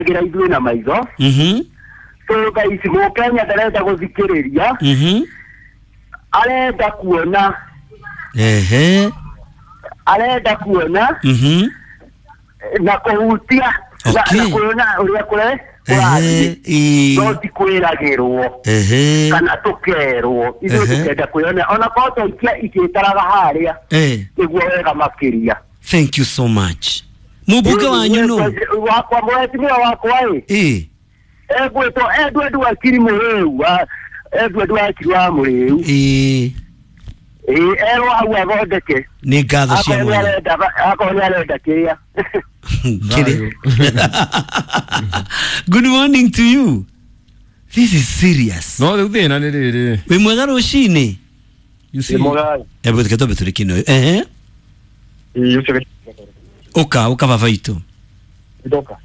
Twĩyonagĩra ithuĩ na maitho. So thaa ici mũkenya ndarenda gũthikĩrĩria, arenda kuona. Arenda kuona na kũhutia na kuona ũrĩa kũre kũrathiĩ, no ti kwĩragĩrwo kana tũkerwo. Ithuĩ tũkenda kwĩyonera, ona korwo twaikia ikĩtaraga harĩa, nĩguo wega makĩria. Thank you so much. Mũmbunge wanyu no? Wakwa, mheshimiwa wakwa ĩ, egwĩtwo Edward Wakiri Mũrĩu, Edward Wakiri wa Mũrĩu. Ĩ, erwo hau athondeke. Nĩ ngatho cia Akorwo nĩ mwanya. arenda, akorwo nĩ arenda kĩrĩa. Kĩrĩ. Good morning to you. This is serious. No rĩu thĩna nĩ rĩrĩ. Wĩ mwega rũcinĩ. You see. Hebu reke twambe tũrĩkie na ũyũ. Ehe. Ũka ũka baba itũ. Ndoka.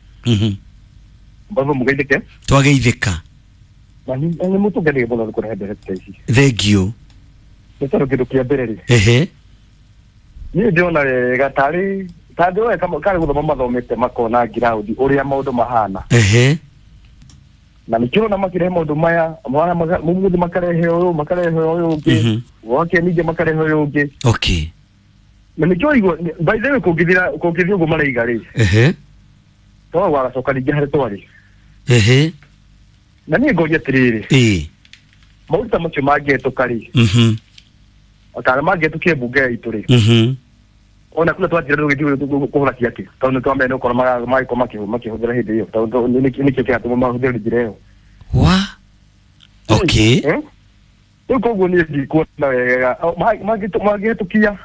Mbavu mugeithĩke. Twageithĩka. Na nĩ mũtũnganĩre mũno nĩ kũrehe ndereti ta ici. Thank you. Nĩ tondũ kĩndũ kĩa mbere rĩ, niĩ ndĩrona wega tarĩ tandĩ we karĩ gũthoma mathomete makona ngiraundi ũrĩa maũndũ mahana. Na nĩkĩo ũrona makĩrehe maũndũ maya mara mũmũthĩ, makarehe ũyũ, makarehe ũyũ ũngĩ, wake ningĩ makarehe ũyũ ũngĩ. Na nĩkĩo igua, by the way, kũngĩthira, kũngĩthiĩ ũguo maraiga rĩ, to wagacoka ningĩ harĩ twarĩ. Na niĩ ngoria atĩrĩrĩ, maũndũ ta macio mangĩhetũka rĩ, kana mangĩhetũkie mbunge itũ rĩ, ona kula twatira tũgĩthiĩ kũhũra ciake, tondũ nĩ twamenya nĩ gũkorwo magĩkorwo makĩhũthĩra hĩndĩ ĩyo, tondũ nĩkĩo kĩratũma mahũthĩre njĩra ĩyo. Wa okay. Eh? Rĩu koguo niĩ ndikuona wega mangĩhetũkia,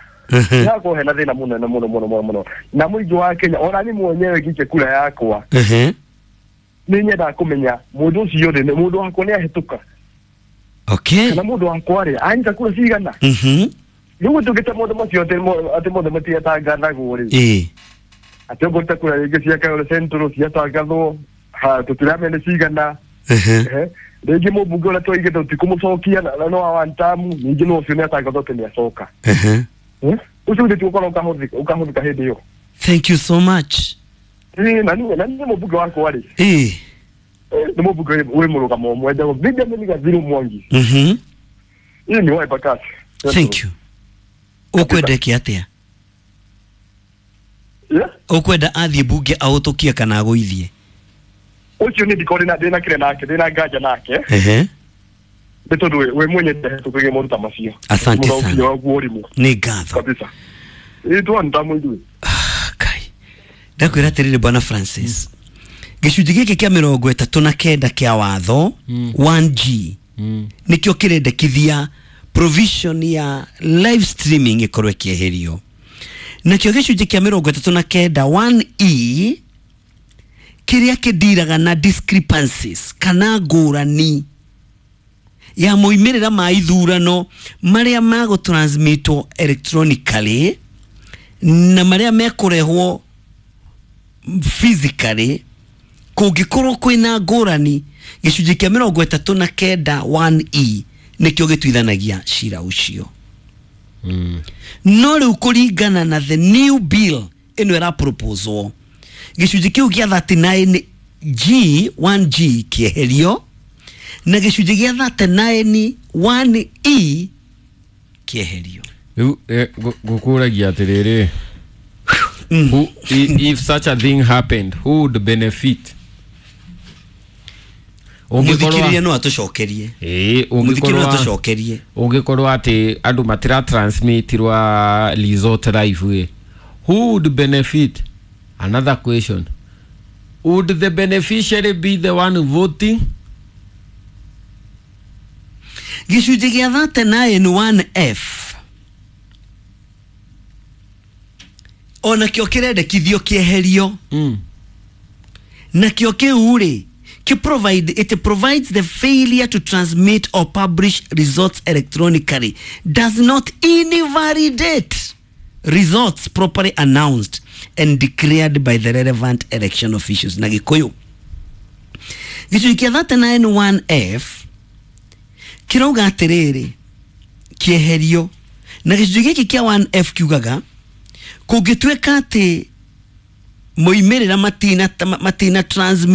hakorwo hena thĩna mũnene mũno mũno mũno mũno na mũingĩ wa Kenya. Ona niĩ mwenyewe ngĩikia kura yakwa, nĩ nyendaga kũmenya mũndũ ũcio rĩ, nĩ mũndũ wakwa nĩ ahĩtũka, kana mũndũ wakwa rĩ, anyita kura cigana. Rĩu tũngĩte maũndũ macio atĩ mothe matiatangathagwo rĩ, atĩ okorwo ta kura rĩngĩ cia Kayole Central ciatangathwo, ha tũtiramenya nĩ cigana. Rĩngĩ mũmbunge ũrĩa twaigĩte tũtikũmũcokia na no wa one term, ningĩ no ũcio nĩ atangathwo atĩ nĩ acoka. Eh? Ũcio githĩ ti gũkorwo ũkahũthĩka hĩndĩ ĩyo? Thank you so much. Ĩ, na niĩ mũmbunge wakwa rĩ, nĩ mũmbunge wĩ mũrũgamo ũmwe, njagwo Benjamin Gathiru Mwangi. Ĩ, nĩ wa Embakasi. Thank you. Ũkwenda ĩke atĩa? Yeah? Ũkwenda athiĩ mbunge ahũtũkie kana agũithie? Ũcio nĩ ndikorwo ndĩna kĩrĩa nake, ndĩna nganja nake, nĩ tondũ we mwenye ndahĩtũkagia maũndũ ta macio. Asante Mũthauki sana. waguo ũrimũ. Nĩ ngatho. Kabisa, ĩ, twandamu ithuĩ. Kai, ndakwĩra atĩrĩrĩ, bwana Francis, gĩcunjĩ gĩkĩ kĩa 39 kĩa watho 1G nĩkĩo kĩrendekithia provision ya live streaming ĩkorwo ĩkĩeherio. Nakĩo gĩcunjĩ kĩa 39 1E kĩrĩa kĩndiraga na discrepancies kana ngũrani ya moimĩrĩra ma ithurano marĩa magũtransmitwo electronically na marĩa mekũrehwo physically, kũngĩkorwo kwĩna ngũrani, gĩcunjĩ kĩa 39 1E nĩkĩo gĩtuithanagia cira ũcio. No rĩu kũringana na the new bill ĩno ĩraproposwo, gĩcunjĩ kĩu kĩa 39 G 1G kĩeherio na gĩcunjĩ gĩa 39 1E kĩeherio. Rĩu ngũkũragia atĩrĩrĩ, if such a thing happened, who would benefit? Mũthikĩrĩria no atũcokerie. Ĩĩ. Mũthikĩrĩria no Ũngĩkorwo atũcokerie. Ũngĩkorwo atĩ andũ matira transmitirwa result live ĩ, who would benefit? Another question, would the beneficiary be the one voting? Gĩcunjĩ gĩa 39 1F onakĩo kĩrendekithio kĩeherio. Nakĩo kĩu rĩ, kĩ provide, it provides the failure to transmit or publish results electronically does not invalidate results properly announced and declared by the relevant election officials. Na Gĩkũyũ, gĩcunjĩ kĩa 39 1F kĩrauga atĩrĩrĩ, kĩeherio, na gĩcunjĩ gĩkĩ kĩa 1F kiugaga kũngĩtuĩka atĩ Moimĩrĩra matina matina transmit.